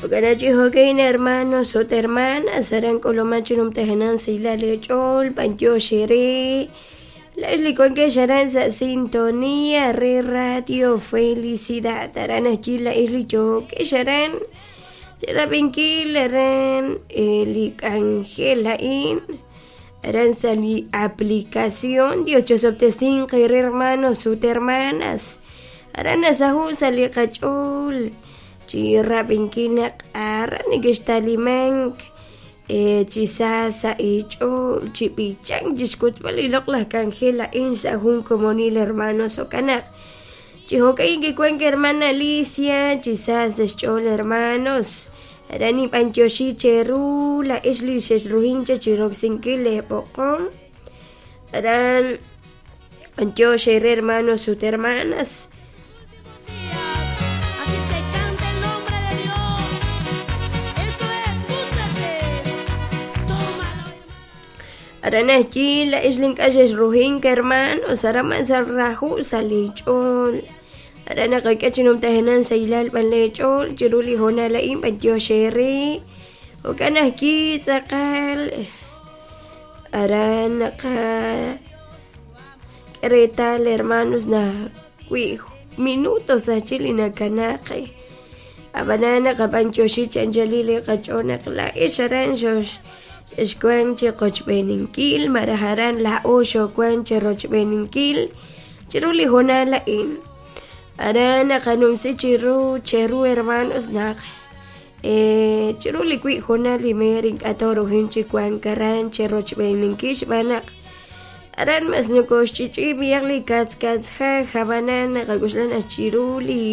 Jo'kan chi jo'kan hermanos ut hermanas aran k'uluman chi numtajenaq sahilal eech'ool b'antiox eere laa'ex li wankex aran sa' sintonía re Radio Felicidad aran ajwi' laa'ex li yookex aran chirab'inkil aran li k'anjel a'in aran sa' li aplicación Dios chosob'tesinq eere hermanos ut hermanas aran nasaho' sa' li qach'ool chi rab'inkil naq aran nekextalimank chi sa sa' eech'ool chi b'ichank chixwotzb'al li loq'laj k'anjel a'in sa' jun komonil hermanos jo'kan naq chi jo'ka'in kiwank hermana Alicia chi sa sa' xch'ool hermanos aran ninb'antioxi cheru laa'ex li xexruhin cha chiroksinkil leeb'oqom aran b'antiox eere hermanos ut hermanas Así se canta el nombre de Dios. Eso es, gústate. Tómalo, hermano. Aran ajwi' laa'ex li ink'a' xexruhink hermanos aran man sa' raju' sa' leech'ool aran naqak'e chi numtajenaq sahilal b'an leech'ool chiru li hoonal a'in b'antiox eere jo'kan ajwi' tz'aqal aran naqa k'e reetal hermanos naq wi' minutos ajchi' li nakanaaq ab'anan naqab'antioxi chi anchalil li qach'ool naq laa'ex aran xox xexwank chi qochb'eeninkil malaj aran laa'o xowank cherochb'eeninkil chiru li hoonal a'in aran naqanumsi chiru cheru hermanos naq chiru li wi' hoonal li meer ink'a' toorujin chi wank aran cherochb'eeninkil xb'aan naq aran mas nokoxch'ich'i b'iyaq li katzkatzjaj ab'anan naqak'oxla naq chiru li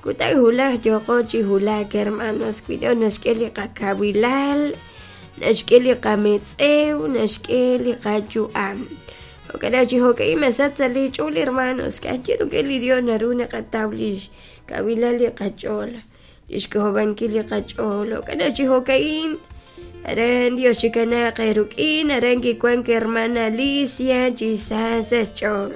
kutan wulaj yooqo chi wulak hermanos wi Dios naxk'e li qakawilal naxk'e li qametz'ew naxk'e li qayu'am jo'kan naq chi jo'ka'in masach sa' lich'ool hermanos ka'ajwi' rik'in li Dios naru naqataw li xkawilal li qach'ool li xk'ojob'ankil li qach'ool jo'kan naq chi jo'ka'in aran Dios chikanaaq eerik'in aran kiwank hermana Alicia chi sa sa' xch'ool.